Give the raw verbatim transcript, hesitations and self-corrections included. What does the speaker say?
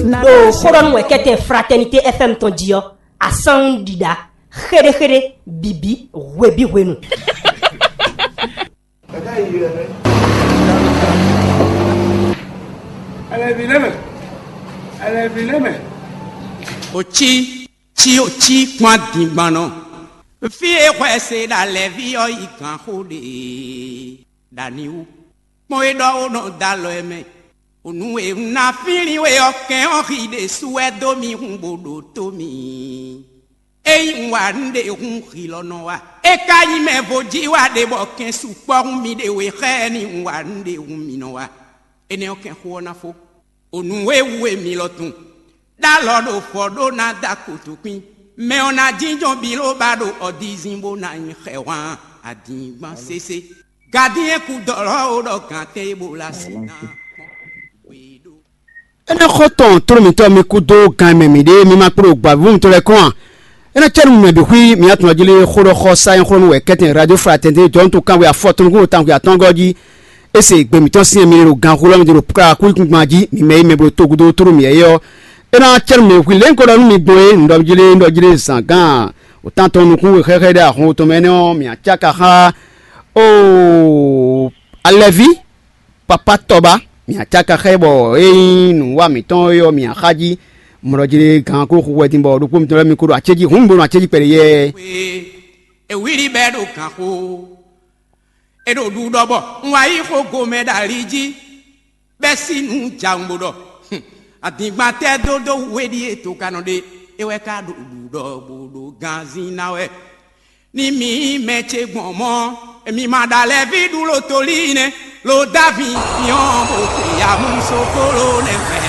Ɖo xóɖɔnú wɛ kɛ́tɛn Fraternité F M tɔn jí ɔ́, asán ɖiɖa xéɖéxéɖé bǐbí hwebíhwenu. Òcí, cí òcí kpɔ́n adǐngbannɔ. Fí e hwɛ se ɖo alɛví ɔ́ yi gǎnxó ɖe ɖo ani wú. Kpɔ́n e ɖɔ ó nɔ dó alɔ ɛ mɛ. Nǔ e un ná flín we ɔ́, kɛn ɔ́ xi ɖésú wɛ dó mì hun bó ɖótó mì. Ényí un wa nǔɖé hun xi lɔ nɔ wa. É ka nyí mɛ vo jí wa ɖe bɔ kɛn sukpɔ́ hun mì ɖe we xá ɛ ní un wa nǔɖé hun mì nɔ wa. Énɛ́ ɔ́ kɛn xó ɔ́ ná fó. O nǔ e wú e mi lɔ tun. Ɖó alɔ ɖo fɔ ɖó ná dó akotokpín. Mɛ ɔ́ ná jínjɔ́n biló ba ɖo ɔdizin bó ná nyi xɛhwan adǐngban sésé. Gadíɛn kú dɔlɔ ó ɖɔ gǎn tɛn e bo la sin ná kpɔ́n. Énɛ́ xɔ tɔn tló mǐtɔn mi kú dó gan e mɛ mǐ ɖe, mi ma kpló gbavǐvú mitɔn lɛ́ɛ kɔn a? Énɛ́ cɛ́ nú mɛ bǐ xwí mǐ atɔn jí lé xó ɖɔ xɔ sa nyɔ́xlɔ́nú wɛ kɛ́tɛn Radio Fraternité jɔ̌nu tɔn kanwe afɔtɔn nukún tawun xwe atɔ́ɔ́ngɔ́ jí. É se gbe mǐtɔn syɛ́n mi ɖo ganxú lɔ́ mi ɖo kplá kúkúngban jí, mi mɛ e mɛ bló togudo tló mǐ é ɔ́. É ná cɛ́ nú mɛ hwi lě un ko ɖɔ nú mi gbɔn é, un ɖɔ jí lé un ɖɔ jí lé zǎn gán òtántɔn nukún we xɛxɛ ɖé ahɔn tɔn mɛ énɛ́ ɔ́, mǐ acáka xá oo alɛví. Papa tɔba, mǐ acáka xá ɛ bɔ é nyí nǔwa mǐtɔn é ɔ́ mǐ axájí. Mɔɖɔjlé gǎn kó xu wɛ din bɔ ɖokpó mitɔn lɛ́ɛ mi kó ɖo acéjí hǔn mi bo nɔ acéjí kpɛɖé yɛɛ. Ewíli bɛ́ ɖo gǎnxó. É ɖo ɖuɖɔ bɔ un wá yí xó gomɛ ɖo ali jí, bɛ́ sí nǔ jawun bó ɖɔ. Adǐngban tɛ́ dó dó wú é ɖíe to ka nɔ ɖe, é wɛ ka ɖo ɖuɖɔ bó ɖo ganzin ná wɛ. Ní mi mɛ ce gbɔn mɔ̌, mi ma ɖo alɛví ɖu lo tolí nɛ́, lo dó avǐ nyɔ́ bó xwe ya mú sókóló nɛ́ mɛ.